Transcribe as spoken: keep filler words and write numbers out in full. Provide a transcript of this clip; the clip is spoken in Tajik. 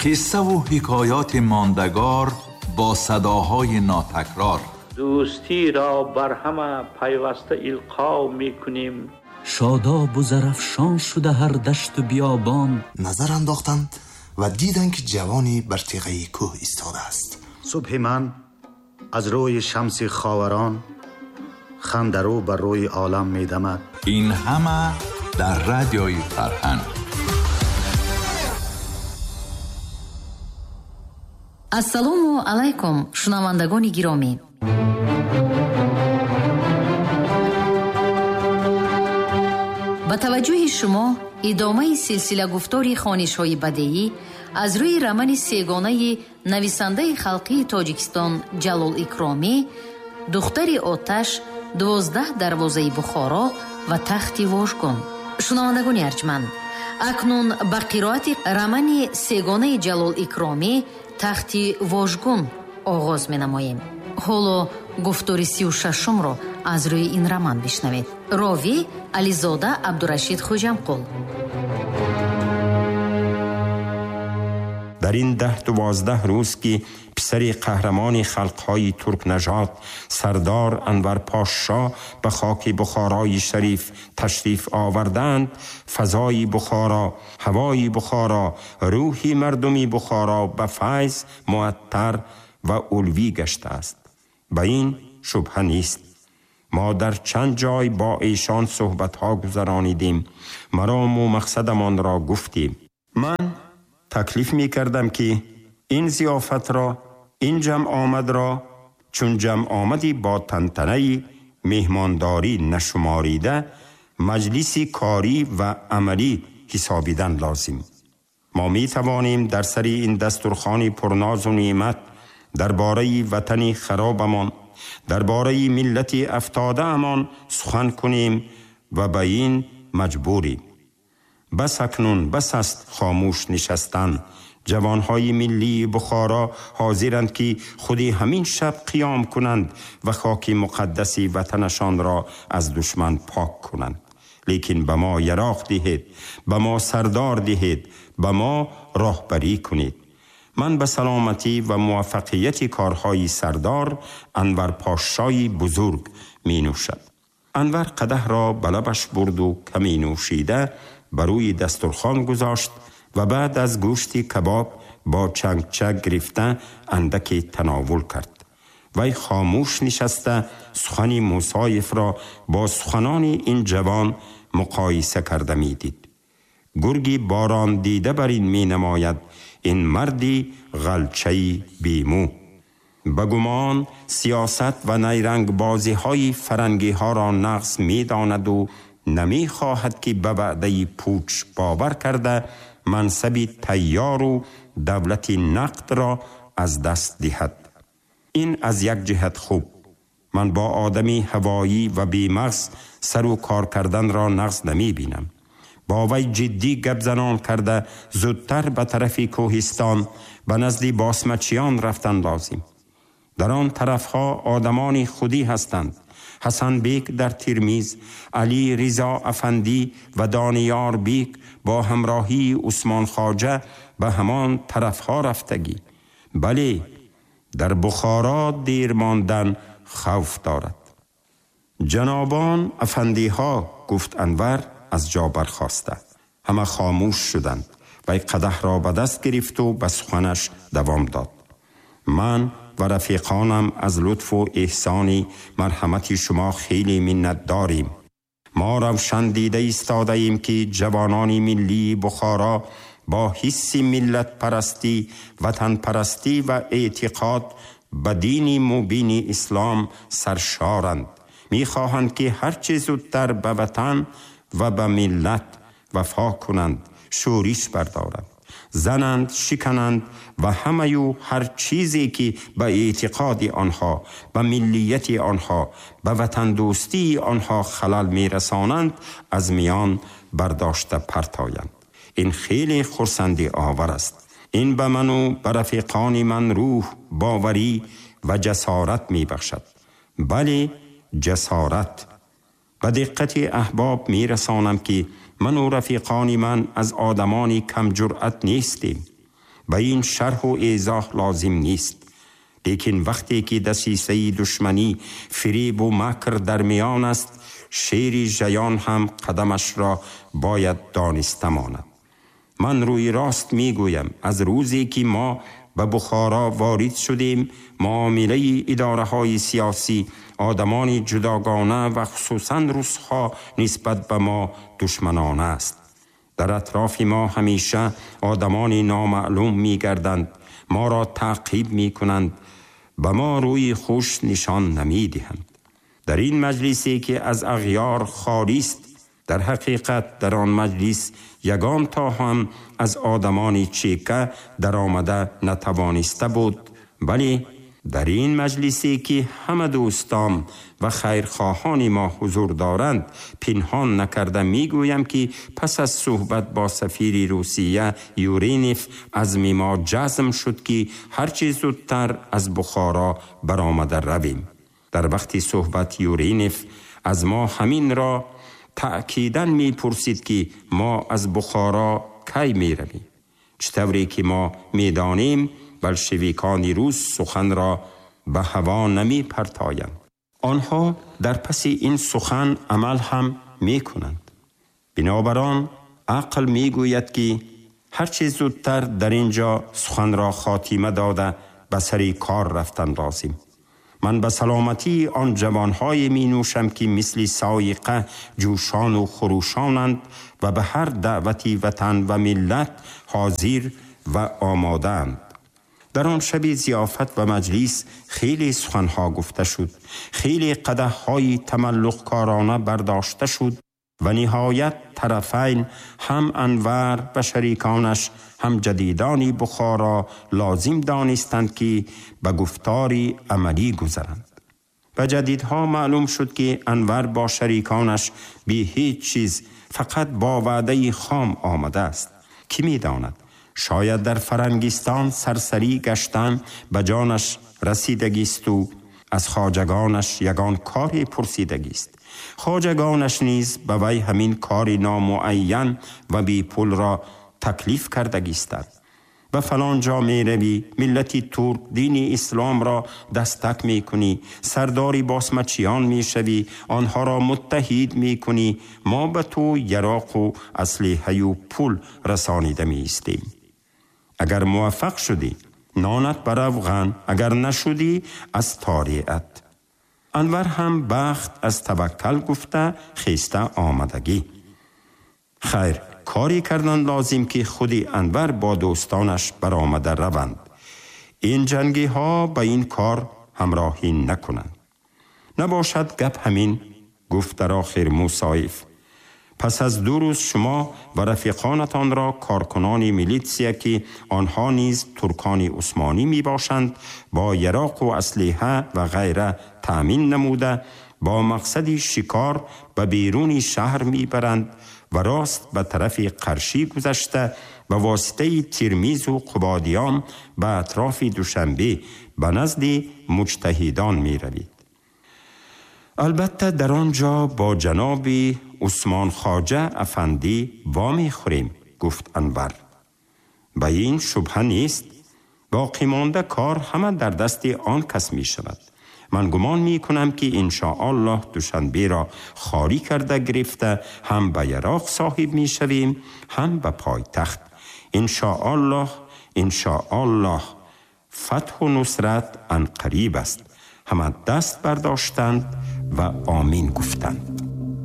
Қисса ва ҳикояти мондагор бо садоҳои нотакрор. Дӯстиро бар ҳама пайваста илқо мекунем. Шодоб ва зарафшон шуда ҳар дашту биёбон. Назар андохтанд ва диданд, ки ҷавоне бар теғаи кӯҳ истодааст. Субҳи ман аз рӯи шамси ховарон хандарӯ бар рӯи олам медамад. Ин ҳама дар радиои Фарҳанг. Ассалому алайкум, шунавандагони гиромӣ. Ба таваҷҷӯҳи шумо идомаи силсила гуфтори хонишҳои бадеӣ аз рӯи романи сегонаи нависандаи халқии Тоҷикистон Ҷалол Икромӣ «Духтари оташ», «Дувоздаҳ дарвозаи Бухоро» ва «Тахти вожгун». Шунавандагони арҷманд, акнун ба қироати романи сегонаи Ҷалол Икромӣ «Тахти вожгун» оғоз менамоем. Ҳоло гуфтори сию шашумро аз рӯи ин роман бишнавед. Ровӣ Ализода Абдурашид Хуҷамқул. Дар ин даҳ дувоздаҳ рӯз ки писари қаҳрамони халқҳои туркнажод сардор Анвар Пошо ба хоки Бухорои шариф ташриф оварданд, фазои Бухоро, ҳавои Бухоро, рӯҳи мардуми Бухоро ба файз муаттар ва улвӣ гаштааст. Ба ин шубҳа нест. Мо дар чанд ҷой бо эшон суҳбатҳо гузаронидем, марому мақсадамонро гуфтем. Ман таклиф мекардам, ки ин зиёфатро, ин ҷамъомадро чун ҷамъомади бо тантанаи меҳмондорӣ нашуморида, маҷлиси корӣ ва амалӣ ҳисобидан лозим. Мо метавонем дар сари ин дастурхони пурнозу неъмат дар бораи ватани харобамон, дар бораи миллати афтодаамон сухан кунем ва ба ин маҷбурем. Бас акнун бас аст хомӯш нишастан. Ҷавонҳои миллии Бухоро ҳозиранд, ки худи ҳамин шаб қиём кунанд ва хоки муқаддаси ватанашонро аз душман пок кунанд. Лекин ба мо яроқ диҳед, ба мо сардор диҳед, ба мо роҳбарӣ кунед. Ман ба саломатӣ ва муваффақияти корҳои сардор Анвар Пошои бузург менӯшад. Анвар қадаҳро ба лабаш бурду каме нӯшида ба рӯи дастурхон гузошт ва баъд аз гӯшти кабоб бо чангча гирифта андаке тановул кард. Вай хомӯш нишаста сухани Мусоевро бо суханони ин ҷавон муқоиса карда медид. Гурги борон дида бар ин менамояд, ин марди ғалчаи бемӯ. Ба гумон сиёсат ва найрангбозиҳои фарангиҳоро нағз медонаду намехоҳад, ки ба ваъдаи пуч бовар карда мансаби тайёру давлати нақдро аз даст диҳад. Ин аз як ҷиҳат хуб. Ман бо одами ҳавоӣ ва бемағз сару кор карданро нағз намебинам. Бо вай ҷиддӣ гапзанон карда зудтар ба тарафи кӯҳистон ба назди босмачиён рафтан лозим. Дар он тарафҳо одамони худӣ ҳастанд. Ҳасан бек дар Тирмиз, Али Ризо афандӣ ва Дониёр бек бо ҳамроҳии Усмон хоҷа ба ҳамон тарафҳо рафтагӣ. Бале, дар Бухоро дер мондан хавф дорад. Ҷанобон афандиҳо, гуфт Анвар аз ҷо бархоста. Ҳама хомӯш шуданд. Вай қадаҳро ба даст гирифту ба суханаш давом дод. Ман ва рафиқонам аз лутфу эҳсони марҳамати шумо хеле миннатдорем. Мо равшан дида истодаем, ки ҷавонони миллии Бухоро бо ҳисси миллатпарастӣ, ватанпарастӣ ва эътиқод ба дини мубини ислом саршоранд. Мехоҳанд, ки ҳарчи зудтар ба ватан ва ба миллат вафо кунанд, шӯриш бардоранд, зананд, шикананд ва ҳамаю ҳар чизе, ки ба эътиқоди онҳо, ба миллияти онҳо, ба ватандӯстии онҳо халал мерасонанд, аз миён бардошта партоянд. Ин хеле хурсандӣ овар аст. Ин ба ману ба рафиқони ман рӯҳ, боварӣ ва ҷасорат мебахшад. Бале, ҷасорат. Ба диққати аҳбоб мерасонам, ки ману рафиқони ман аз одамони камҷуръат нестем. به این شرح و ایضاح لازم نیست. لیکن وقتی که دسیسه دشمنی، فریب و مکر در میان است، شیر ژیان هم قدمش را باید دانسته ماند. من روی راست میگویم، از روزی که ما به بخارا وارد شدیم، معامله اداره های سیاسی، آدمان جداگانه و خصوصا روس‌ها نسبت به ما دشمنانه است. در اطراف ما همیشه آدمان نامعلوم میگردند، ما را تعقیب میکنند، به ما روی خوش نشان نمیدهند. در این مجلسی که از اغیار خالی است، در حقیقت در آن مجلس یگان تا هم از آدمان چیکه در آمده نتوانسته بود، ولی در این مجلسی که همه دوستان و خیرخواهان ما حضور دارند، پنهان نکرده میگویم که پس از صحبت با سفیر روسیه یورینف، عزم ما جزم شد که هرچه زودتر از بخارا برآمده رویم. در وقت صحبت یورینف از ما همین را تأکیداً می پرسید که ما از بخارا کی می رویم. چطوری که ما می دانیم بلشویکان روس سخن را به هوا نمی پرتایند. آنها در پس این سخن عمل هم می کنند. بنابران عقل می گوید که هرچه زودتر در اینجا سخن را خاتمه داده به سر کار رفتن لازم. من به سلامتی آن جوانهای می نوشم که مثل سایقه جوشان و خروشانند و به هر دعوتی وطن و ملت حاضر و آمادند. در آن شب ضیافت و مجلس خیلی سخنها گفته شد، خیلی قدحهای تملق کارانه برداشته شد و نهایت طرفین، هم انور و شریکانش هم جدیدان بخارا، لازم دانستند که به گفتاری عملی گذرند. و جدیدها معلوم شد که انور با شریکانش بی هیچ چیز، فقط با وعده خام آمده است. کی می داند، شاید در فرنگستان سرسری گشتن به جانش رسیدگیست و از خواجگانش یگان کاری پرسیدگیست. خواجگانش نیز به وی همین کار نامعین و بی پول را تکلیف کردگیستند. و فلان جا می روی، ملتی ترک دین اسلام را دستک می کنی، سرداری باسمچیان می شوی، آنها را متحد می کنی، ما به تو یراق و اسلحه و پول رسانیده می ایستیم. اگر موفق شدی نانت بر روغن، اگر نشدی از تاریعت. انور هم بخت از توکل گفته خیسته آمدگی. خیر، کاری کردن لازم که خودی انور با دوستانش برآمده روند. این جنگی ها به این کار همراهی نکنند. نباشد گپ همین، گفت در آخر موسایف. پس از دو روز شما و رفیقانتان را کارکنان میلیتسیا که آنها نیز ترکان عثمانی می باشند با یراق و اسلحه و غیره تأمین نموده با مقصد شکار به بیرون شهر می برند و راست به طرف قرشی گذشته به واسطه ترمیز و قبادیان به اطراف دوشنبه به نزد مجتهدان می روید. البته در آنجا با جناب عثمان خواجه افندی وامی خوریم، گفت انور. به این شبهه نیست، باقی مانده کار همه در دست آن کس می شود. من گمان می کنم که انشاءالله دوشنبه را خالی کرده گرفته هم به یراق صاحب می شویم هم به پایتخت. انشاءالله، انشاءالله فتح و نصرت عنقریب است. همه دست برداشتند و آمین گفتند.